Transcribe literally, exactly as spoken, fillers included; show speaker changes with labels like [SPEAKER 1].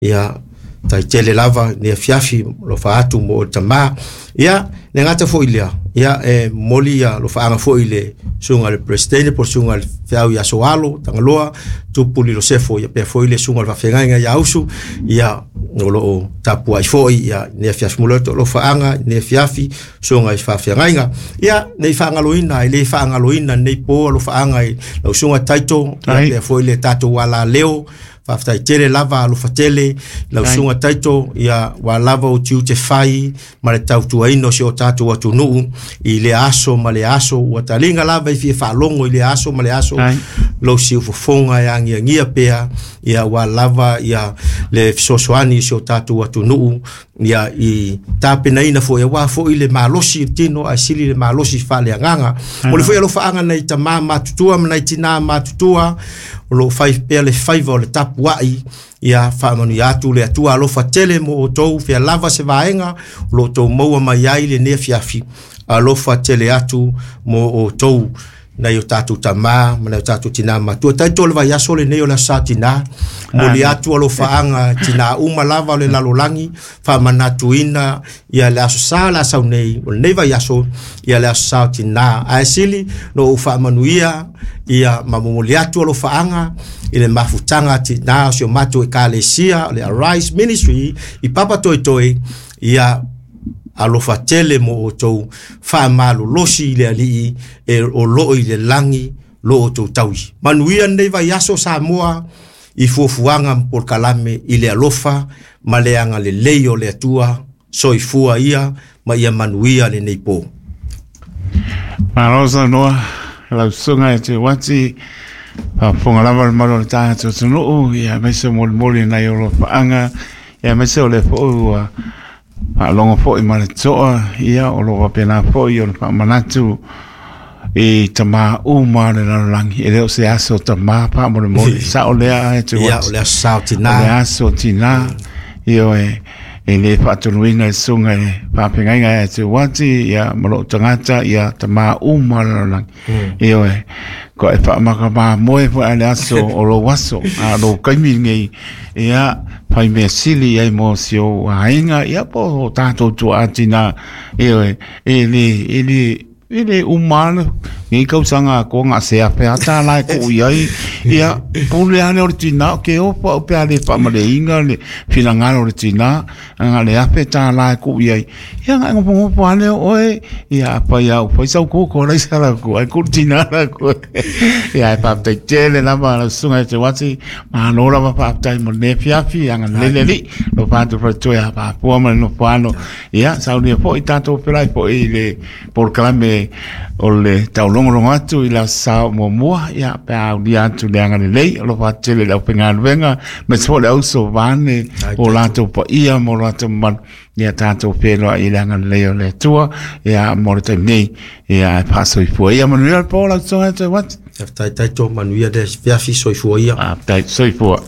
[SPEAKER 1] Ia faafetai tele lava i le afiafi alofa atu mo oe le tama. Ia, le gata foi i lea, ia e momoli ia alofaaga foi i le susuga i le Peresetene po o le susuga i le Feau ia Soalo Tagaloa Tupu Lilosefo, ia faapea foi le susuga i le Faafeagaiga ia Usu, ia o lo o tapuai foi ia i lenei afiafi. Momoli atu alofaaga i lenei afiafi susuga i faafeagaiga. Ia, ne i faagaloina, e le faagaloina i lenei po alofaaga i lau susuga Taito, ia faapea foi le tatou alaleo. Faafetai tele lava, alofa tele lau susuga Taito, ia ua lava ou tiute fai ma le tautuaina o si o tatou atunuu i lea aso ma lea aso, ua taliga lava i fia faalogo i lea aso ma lea aso, lou siufofoga e agiagia pea, ia ua lava ia le fesoasoani i si o tatou atunuu, ia i tapenaina foi, aua foi le malosi i le tino ae sili le malosi faaleagaga. Momoli foi alofaaga nai tama matutua ma nai tina matutua o lo o fai pea le faiva o le tapuai, ia faamanuia atu le Atua, alofa tele mo outou, fea lava se vaega o lo o outou maua mai ai lenei afiafi, alofa tele atu mo outou nai o tatou tama ma nai o tatou tina matua. Taito o le vaiaso lenei o le Aso Sa Tina, momoli atu alofaaga tina uma lava o le lalolagi, faamanatuina ia le Aso Sa le a sau nei, o lenei vaiaso, ia le Aso Sa o Tina. Ae sili no ou faamanuia ia ma momoli atu alofaaga i le mafutaga tina o si o matou ekalesia o le Arise Ministry i Papatoetoe, ia alofa tele mo outou, faamalolosi i le Alii e o loo i le lagi lo outou taui. Manuia lenei vaiaso Samoa i fuafuaga ma polokalame i le alofa ma le agalelei o le Atua. Soifua ia ma ia manuia lenei po.
[SPEAKER 2] Malo saunoa lau susuga e te uati, faafofoga lava le malu o le tatou atunuu, ia aemaise o molimoli nai o alofaaga, ia aemaise o le foi ua faalogo foi ma le toa, ia o lo o faapena foi o le faamanatu i tama uma o le lalolagi. E le o se aso tama faamolemole, sao lea e te
[SPEAKER 1] Ia,
[SPEAKER 2] uati.
[SPEAKER 1] O le Aso Sa o
[SPEAKER 2] O le
[SPEAKER 1] Tina.
[SPEAKER 2] Aso Tina, ioe, e le faatonuina le susuga i le faafeagaiga ia te uati, ia ma lou tagata, ia tama uma o le lalolagi. Ioe, ko e faamakamamoe foi a le aso o lou aso, a lou kaimi lenei, ia fai mea sili ai mo si ou aiga, ia po o tatou tuaa tina, ioe, e le, e le, e le uma le nei tausaga atoa ga se afe a tālā e kuu i ai, ia pule ane o le tina o ke ofa o pe a le faamaleiga le finagalo o le tina aga le afe tālā e kuu i ai, ia ga ngopongopo ane o oe, ia afai au fai sau koko lai sala ku ai ku tina la ku. Ia e faafetai tele lava lau susuga e te uati, malo lava, faafetai mo lenei afiafi, agalelei le Alii lo fatu faitoe a faapua ma le nofo. Ia saunia foi tatou felai foi i le polokalame o le taulogologo atu i le Aso Sa muamua, ia pe a aulia atu le agalelei o lo faatele le aufaigaluega ma se foi le auso vane o latou paia ma o latou mamalu, ia tatou feiloai i le agalelei o le Atua. Ia mo le taimi nei, ia e faasoifua ia, manuia le po lau susuga e te uati.
[SPEAKER 1] Faafetai Taito, manuia le afiafi, soifua ia.
[SPEAKER 2] Faafetai, soifua.